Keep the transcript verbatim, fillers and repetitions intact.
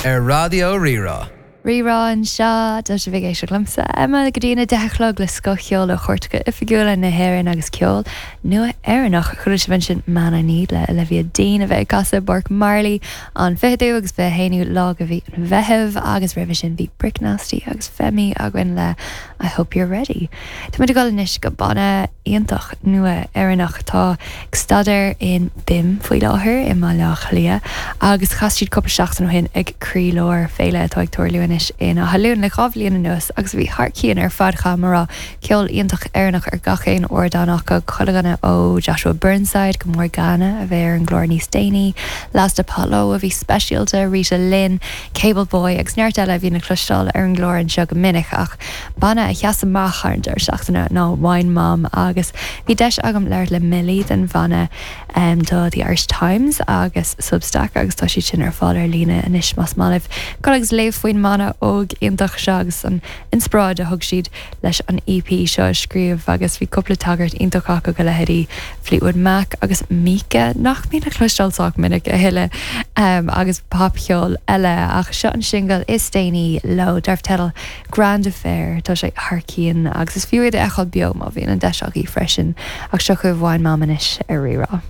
Ar Raidió Rí-Rá. Rí-Rá anseo tá sibh ag éisteacht liomsa Emma go dtí a deich a chlog le scothcheol ó chairteacha oifigiúla na hÉireann agus ceol nua Éireannach chuala sibh ansin Man I Need le Olivia Dean a bheith ag casadh i bPáirc Marley an fichiú agus fiche haonú lá de mhí an Mheithimh agus roimhe sin bhí Brick Nasty agus Femi againn le I hope you're ready. Tá muid ag dul anois go banna iontach nua Éireannach atá ag staidéar in BIMM faoi láthair i mBaile Átha Cliath agus chas siad cúpla seachtain ó shin ag Croílár féile atá ag tarlú anois in Áth Luain le dhá bhliain anuas agus bhí thar cionn ar fad mar ceol iontach Éireannach ar gach aon ardán acu chuile dhuine ó Joshua Burnside go Morgana a bheidh ar an gclár níos déanaí, Last Apollo a bhí speisialta Rita Lynn, Cable Boy agus neart eile a bhí le cloisteáil ar an gclár anseo go minic ach banna a sheas amach ar an deireadh seachtaine ná Wine Mom agus bhí deis agam labhairt le Millie den bhanna um, do The Irish Times agus Substack agus tá siad sin ar fáil ar líne anois más maith libh. Dul agus léamh faoin mbanna óg iontach seo agus an inspioráid a thug siad leis an EP seo a scríobh agus bhí cúpla tagairt iontach acu go leithéidí Fleetwood Mac agus Mika nach mbíonn le cloisteáil sách minic a thuilleadh um, agus popcheol eile ach seo an singil is déanaí leo darb teideal Grand Affair tá sé thar cionn agus is fiú iad a fheiceáil beo má bhíonn an deis agaibh freisin ach seo chugaibh Wine Mom anois ar Rí-Rá.